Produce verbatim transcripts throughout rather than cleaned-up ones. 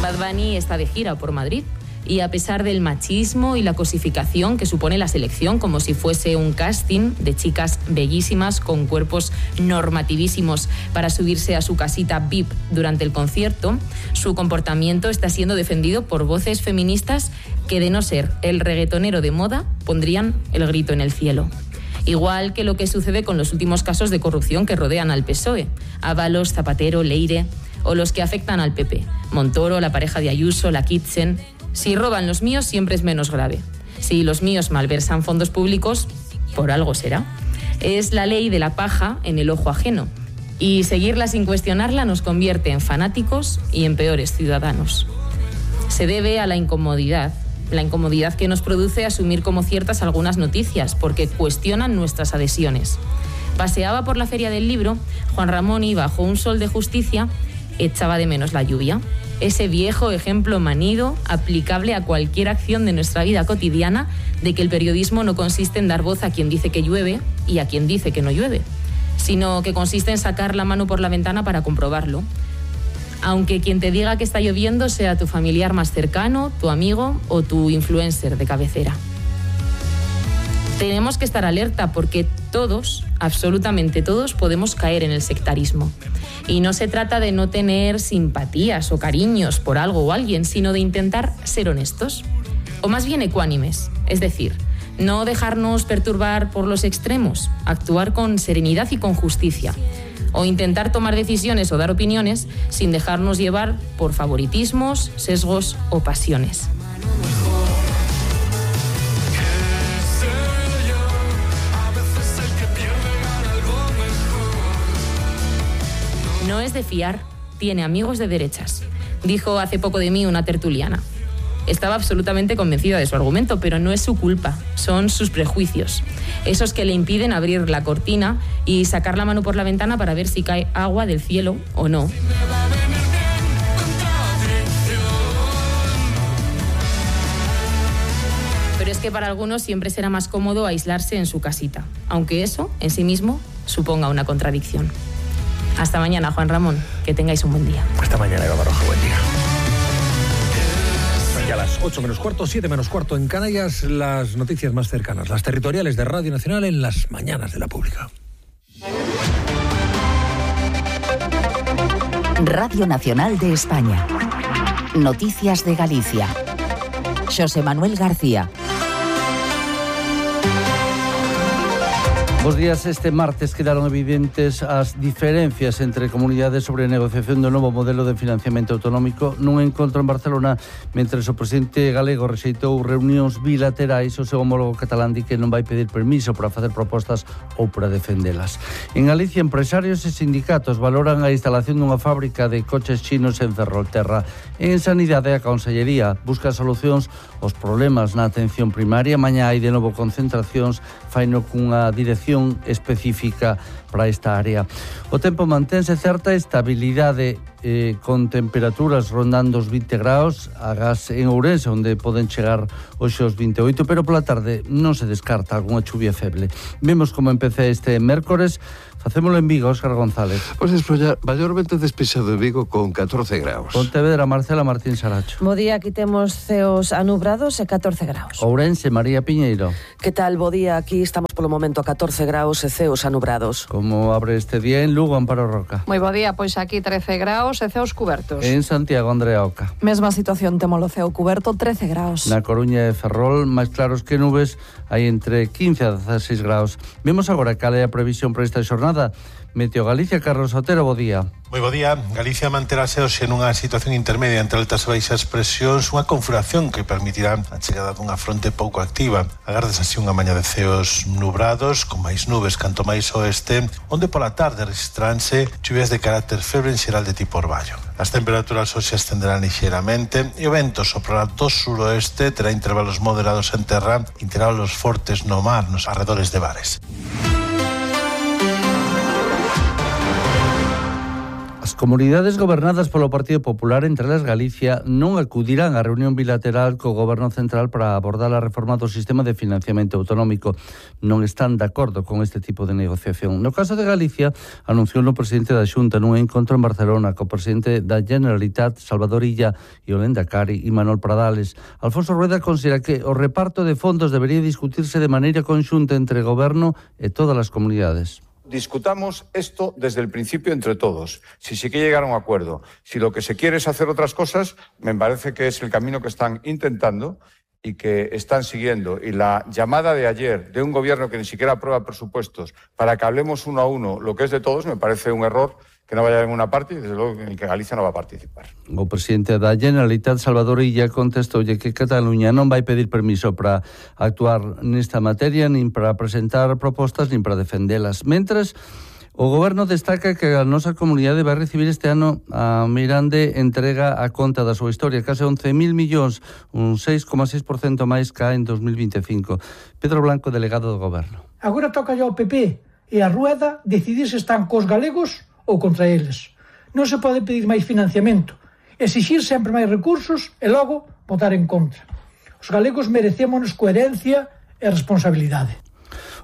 Bad Bunny está de gira por Madrid y a pesar del machismo y la cosificación que supone la selección, como si fuese un casting de chicas bellísimas con cuerpos normativísimos para subirse a su casita V I P durante el concierto, su comportamiento está siendo defendido por voces feministas que, de no ser el reggaetonero de moda, pondrían el grito en el cielo. Igual que lo que sucede con los últimos casos de corrupción que rodean al P S O E, Ábalos, Zapatero, Leire, o los que afectan al P P, Montoro, la pareja de Ayuso, la Kitchen. Si roban los míos, siempre es menos grave. Si los míos malversan fondos públicos, por algo será. Es la ley de la paja en el ojo ajeno. Y seguirla sin cuestionarla nos convierte en fanáticos y en peores ciudadanos. Se debe a la incomodidad, la incomodidad que nos produce asumir como ciertas algunas noticias, porque cuestionan nuestras adhesiones. Paseaba por la Feria del Libro, Juan Ramón y bajo un sol de justicia echaba de menos la lluvia. Ese viejo ejemplo manido, aplicable a cualquier acción de nuestra vida cotidiana, de que el periodismo no consiste en dar voz a quien dice que llueve y a quien dice que no llueve, sino que consiste en sacar la mano por la ventana para comprobarlo. Aunque quien te diga que está lloviendo sea tu familiar más cercano, tu amigo o tu influencer de cabecera. Tenemos que estar alerta porque todos, absolutamente todos, podemos caer en el sectarismo. Y no se trata de no tener simpatías o cariños por algo o alguien, sino de intentar ser honestos, o más bien ecuánimes, es decir, no dejarnos perturbar por los extremos, actuar con serenidad y con justicia, o intentar tomar decisiones o dar opiniones sin dejarnos llevar por favoritismos, sesgos o pasiones. No es de fiar, tiene amigos de derechas, dijo hace poco de mí una tertuliana. Estaba absolutamente convencida de su argumento, pero no es su culpa, son sus prejuicios, esos que le impiden abrir la cortina y sacar la mano por la ventana para ver si cae agua del cielo o no. Pero es que para algunos siempre será más cómodo aislarse en su casita, aunque eso en sí mismo suponga una contradicción. Hasta mañana, Juan Ramón. Que tengáis un buen día. Hasta mañana, Eva Baroja. Buen día. Ya a las ocho menos cuarto, siete menos cuarto en Canarias, las noticias más cercanas, las territoriales de Radio Nacional en las mañanas de la Pública. Radio Nacional de España. Noticias de Galicia. José Manuel García. Bos días. Este martes quedaron evidentes as diferencias entre comunidades sobre a negociación do novo modelo de financiamento autonómico nun encontro en Barcelona, mentre o presidente galego rexeitou reunións bilaterais, o seu homólogo catalán di que non vai pedir permiso para facer propostas ou para defendelas. En Galicia, empresarios e sindicatos valoran a instalación dunha fábrica de coches chinos en Ferrolterra. En Sanidade, a Consellería busca solucións aos problemas na atención primaria. Mañá hai de novo concentracións, faino cunha dirección específica para esta área. O tempo mantense certa estabilidade eh, con temperaturas rondando os vinte graus, agás en Ourense, onde poden chegar hoxe os vinte e oito, pero pola tarde non se descarta algunha chuvia feble. Vemos como empecé este mércores. Facémolo en Vigo, Óscar González. Pois pues es maiormente despexado de Vigo con catorce graus. Pontevedra, Marcela Martín Saracho. Bo día, aquí temos ceos anubrados e catorce graus. Ourense, María Piñeiro. Que tal, bo día, aquí estamos polo momento a catorce graus e ceos anubrados. Como abre este día en Lugo, Amparo Roca? Moi bo día, pois aquí trece graus e ceos cubertos. En Santiago, Andrea Oca. Mesma situación, temos o ceo cuberto, trece graus. Na Coruña e Ferrol, máis claros que nubes, hai entre quince a dezaseis graus. Vemos agora cal é a previsión para esta xornada. Meteo Galicia, Carlos Otero, bo día. Moi bo día. Galicia manterase hoxe nunha situación intermedia entre altas e baixas presións, unha configuración que permitirá a chegada dunha fronte pouco activa. Agardes así unha maña de ceos nubrados, con máis nubes canto máis oeste, onde pola tarde registraránse chuvias de carácter febre en xeral de tipo orballo. As temperaturas hoxe ascenderán lixeiramente e o vento soprará do suroeste, terá intervalos moderados en terra, intervalos fortes no mar, nos arredores de bares. As Comunidades gobernadas polo Partido Popular, entre elas Galicia, non acudirán á reunión bilateral co Goberno Central para abordar a reforma do sistema de financiamento autonómico. Non están de acordo con este tipo de negociación. No caso de Galicia, anunciou o presidente da Xunta nun encontro en Barcelona co presidente da Generalitat, Salvador Illa, e o Lehendakari, Imanol Pradales. Alfonso Rueda considera que o reparto de fondos debería discutirse de maneira conxunta entre o Goberno e todas as comunidades. Discutamos esto desde el principio entre todos, si se quiere llegar a un acuerdo. Si lo que se quiere es hacer otras cosas, me parece que es el camino que están intentando y que están siguiendo. Y la llamada de ayer de un gobierno que ni siquiera aprueba presupuestos para que hablemos uno a uno lo que es de todos, me parece un error que no vaya a ninguna parte y desde luego en el que Galicia no va a participar. O presidente da Generalitat, Salvador Illa, contestoulle que Cataluña non vai pedir permiso para actuar nesta materia, nin para presentar propostas, nin para defendelas. Mentres, o Goberno destaca que a nosa comunidade vai recibir este ano a Mirande entrega a conta da súa historia, case once mil millóns, un seis coma seis por cento máis ca en dos mil veinticinco. Pedro Blanco, delegado do Goberno. Agora toca ao P P e a Rueda decidir se están cos galegos ou contra eles. Non se pode pedir máis financiamento, exixir sempre máis recursos e logo votar en contra. Os galegos merecémonos coherencia e responsabilidade.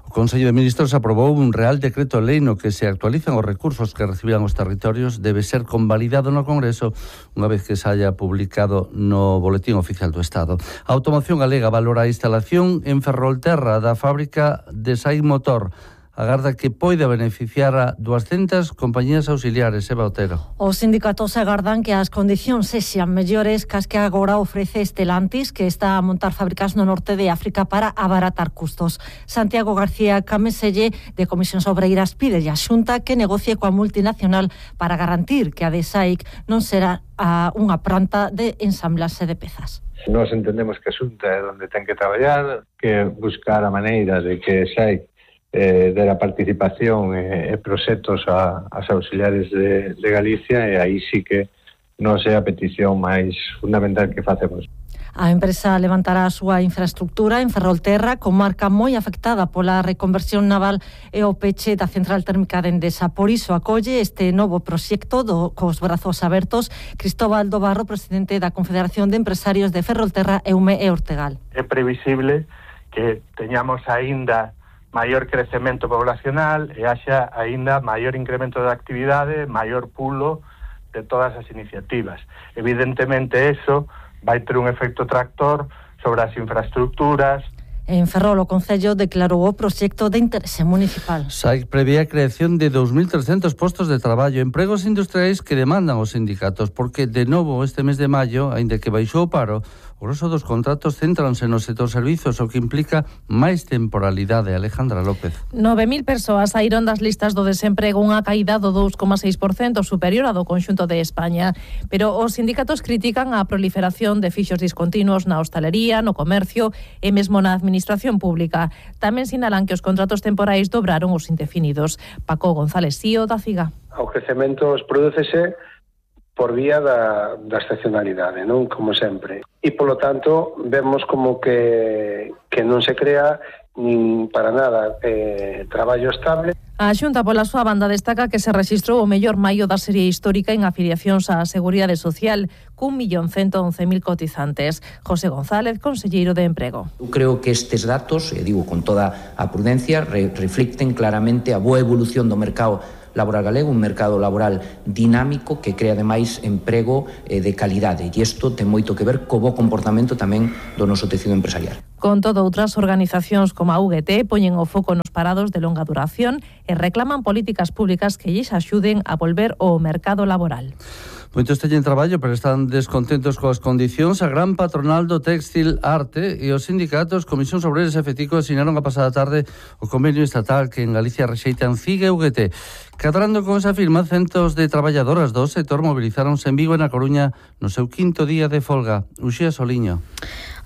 O Consello de Ministros aprobou un Real Decreto Lei no que se actualizan os recursos que recibirán os territorios. Debe ser convalidado no Congreso unha vez que se haya publicado no Boletín Oficial do Estado. A Automoción Galega valora a instalación en Ferrolterra da fábrica de Sai Motor. Agarda que poida beneficiar a duascentas compañías auxiliares. Eva Otero. Os sindicatos agardan que as condicións sexan mellores cas que agora ofrece Stellantis, que está a montar fábricas no norte de África para abaratar custos. Santiago García Cameselle, de Comisións Obreiras, pide a Xunta que negocie coa multinacional para garantir que a de SAIC non será a unha planta de ensamblaxe de pezas. Nós entendemos que a Xunta é onde ten que traballar, que buscar a maneira de que SAIC Eh, de la participación e eh, proxectos a, as auxiliares de, de Galicia, e aí sí que non é a petición máis fundamental que facemos. A empresa levantará a súa infraestructura en Ferrolterra, comarca moi afectada pola reconversión naval e o peche da central térmica de Endesa. Por iso acolle este novo proxecto do, cos brazos abertos Cristóbal do Barro, presidente da Confederación de Empresarios de Ferrolterra, Eume e Ortegal. É previsible que teñamos aínda maior crecemento poblacional e haxa aínda maior incremento de actividade, maior pulo de todas as iniciativas. Evidentemente, eso vai ter un efecto tractor sobre as infraestructuras. En Ferrol, o Concello declarou o proxecto de interese municipal. SAIC prevé a creación de dous mil trescentos postos de traballo, empregos industriais que demandan os sindicatos, porque, de novo, este mes de maio, aínda que baixou o paro, o grosso dos contratos céntranse no sector servizos, o que implica máis temporalidade. Alejandra López. nove mil persoas saíron das listas do desemprego, unha caída do dous coma seis por cento superior a do conxunto de España. Pero os sindicatos critican a proliferación de fixos discontinuos na hostalería, no comercio e mesmo na administración pública. Tamén sinalan que os contratos temporais dobraron os indefinidos. Paco González Sío, da CIGA. O crecemento prodúcese por vía da, da estacionalidade, non? Como sempre. E, polo tanto, vemos como que, que non se crea nin para nada eh, traballo estable. A Xunta, pola súa banda, destaca que se rexistrou o mellor maio da serie histórica en afiliacións á Seguridade Social, cun millón cento once mil cotizantes. José González, conselleiro de Emprego. Eu creo que estes datos, e digo con toda a prudencia, re reflicten claramente a boa evolución do mercado laboral galego, un mercado laboral dinámico que crea ademais emprego eh, de calidade, e isto ten moito que ver co bo comportamento tamén do noso tecido empresarial. Con todo, outras organizacións como a U G T poñen o foco nos parados de longa duración e reclaman políticas públicas que lles axuden a volver ao mercado laboral. Moitos teñen traballo, pero están descontentos coas condicións. A gran patronal do Téxtil Arte e os sindicatos Comisións Obreiras e FETICO asinaron a pasada tarde o convenio estatal que en Galicia rexeitan C I G e U G T. Cadrando con esa firma, centos de traballadoras do sector movilizáronse en Vigo e na Coruña no seu quinto día de folga. Uxía Soliño.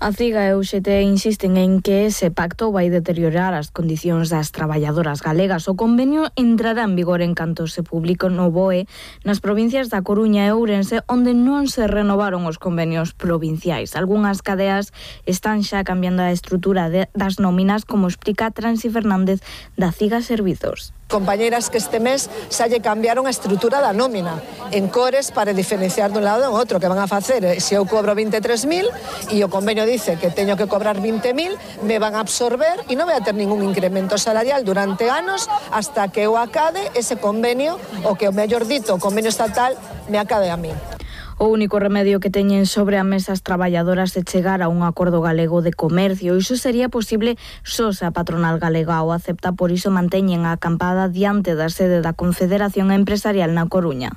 A C I G A e U G T insisten en que ese pacto vai deteriorar as condicións das traballadoras galegas. O convenio entrará en vigor en canto se publique no B O E nas provincias da Coruña e Ourense, onde non se renovaron os convenios provinciais. Algúnas cadeas están xa cambiando a estrutura de, das nóminas, como explica Transi Fernández da C I G A Servizos. compañeiras que este mes xa lle cambiaron a estrutura da nómina en cores para diferenciar dun lado e do outro, que van a facer, se eu cobro vinte e tres mil e o convenio dice que teño que cobrar vinte mil, me van a absorber e non vai a ter ningún incremento salarial durante anos hasta que eu acabe ese convenio, o que o mellor dito, o convenio estatal me acabe a mí. O único remedio que teñen sobre a mesa as traballadoras é chegar a un acordo galego de comercio. Iso sería posible só se a patronal galega o acepta, por iso manteñen a acampada diante da sede da Confederación Empresarial na Coruña.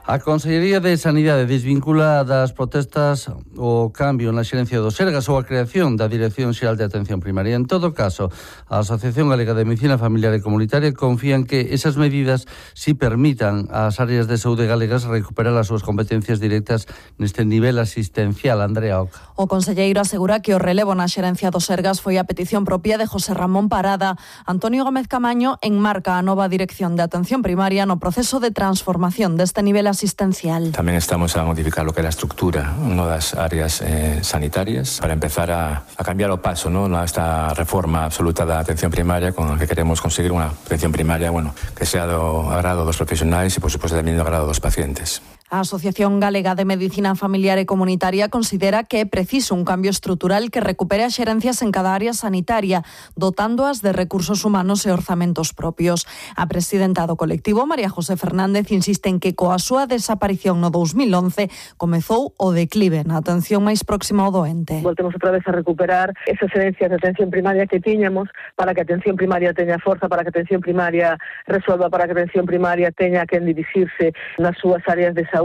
A Consellería de Sanidade desvincula das protestas o cambio na xerencia do Sergas ou a creación da Dirección Xeral de Atención Primaria. En todo caso, a Asociación Galega de Medicina Familiar e Comunitaria confía en que esas medidas si permitan ás áreas de saúde galegas recuperar as súas competencias directas neste nivel asistencial. Andrea Oca. O conselleiro asegura que o relevo na xerencia do Sergas foi a petición propia de José Ramón Parada. Antonio Gómez Camaño enmarca a nova Dirección de Atención Primaria no proceso de transformación deste nivel asistencial. Tamén estamos a modificar lo que é a estructura no das áreas eh, sanitarias para empezar a, a cambiar o paso, ¿no? Esta reforma absoluta da atención primaria con la que queremos conseguir unha atención primaria, bueno, que sea do agrado dos profesionais e, por suposto, tamén do agrado dos pacientes. A Asociación Galega de Medicina Familiar e Comunitaria considera que é preciso un cambio estrutural que recupere as xerencias en cada área sanitaria, dotándoas de recursos humanos e orzamentos propios. A presidenta do colectivo, María José Fernández, insiste en que coa súa desaparición no dos mil once comezou o declive na atención máis próxima ao doente. Voltemos outra vez a recuperar esas xerencias de atención primaria que tiñamos para que a atención primaria teña forza, para que a atención primaria resolva, para que a atención primaria teña quen dirixirse nas súas áreas de saúde.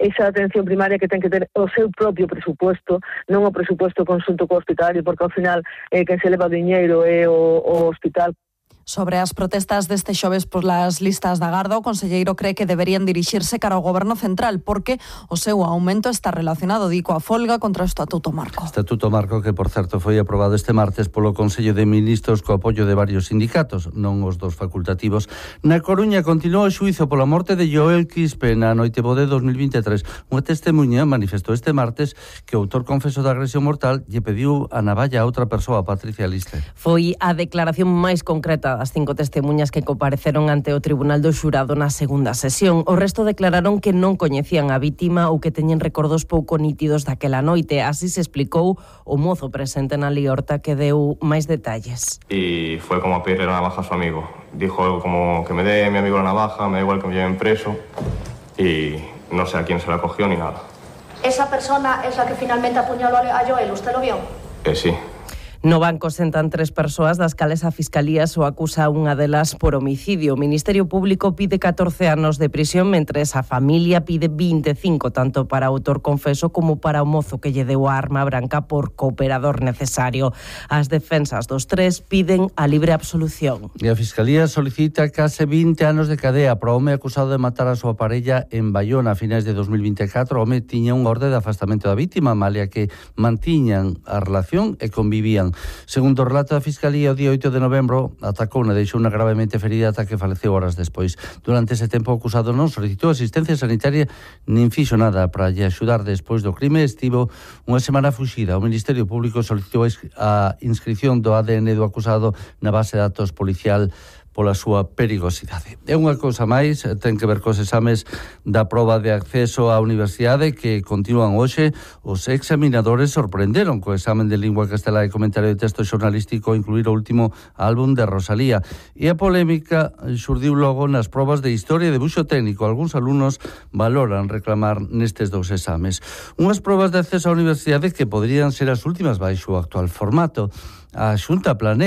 Esa atención primaria que ten que ter o seu propio presupuesto, non o presupuesto conxunto co hospitalario, porque ao final eh, quen se leva o diñeiro é o, o hospital. Sobre as protestas deste xoves polas listas da Garda, o conselleiro cree que deberían dirixirse cara ao Goberno Central porque o seu aumento está relacionado, di, coa folga contra o Estatuto Marco. Estatuto Marco que, por certo, foi aprobado este martes polo Consello de Ministros co apoio de varios sindicatos, non os dos facultativos. Na Coruña continúa o xuízo pola morte de Joel Quispe na Noitebode dos mil vinte e tres. Unha testemunha manifestou este martes que o autor confeso da agresión mortal lle pediu a navalla a outra persoa, Patricia Liste. Foi a declaración máis concreta as cinco testemunhas que compareceron ante o Tribunal do Xurado na segunda sesión. O resto declararon que non coñecían a vítima ou que teñen recordos pouco nítidos daquela noite. Así se explicou o mozo presente na liorta que deu máis detalles. Y fue como a pedirle la navaja a su amigo. Dijo algo como que me dé mi amigo la navaja, me da igual que me lleven preso, y no sé a quién se la cogió ni nada. ¿Esa persona es la que finalmente apuñaló a Joel? ¿Usted lo vio? Eh, sí. No banco sentan tres persoas das cales a Fiscalía só acusa unha delas por homicidio. O Ministerio Público pide catorce anos de prisión, mentres a familia pide vinte e cinco, tanto para o autor confeso como para o mozo que lle deu a arma branca por cooperador necesario. As defensas dos tres piden a libre absolución. E a Fiscalía solicita case vinte anos de cadea para o home acusado de matar a súa parella en Bayona a finais de dos mil vinte e catro. O home tiña unha orde de afastamento da vítima, malia que mantiñan a relación e convivían. Segundo o relato da Fiscalía, o día oito de novembro atacou e deixou unha gravemente ferida ata que faleceu horas despois. Durante ese tempo o acusado non solicitou asistencia sanitaria nin fixo nada para lle axudar despois do crime. Estivo unha semana fuxida. O Ministerio Público solicitou a inscripción do A D N do acusado na base de datos policial pola súa perigosidade. É unha cousa máis, ten que ver cos exames da proba de acceso á universidade que continúan hoxe. Os examinadores sorprenderon co examen de lingua castelá e comentario de texto xornalístico incluir o último álbum de Rosalía. E a polémica xurdiu logo nas probas de historia e debuxo técnico. Algúns alumnos valoran reclamar nestes dous exames. Unhas probas de acceso á universidade que poderían ser as últimas baixo o actual formato. A Xunta planea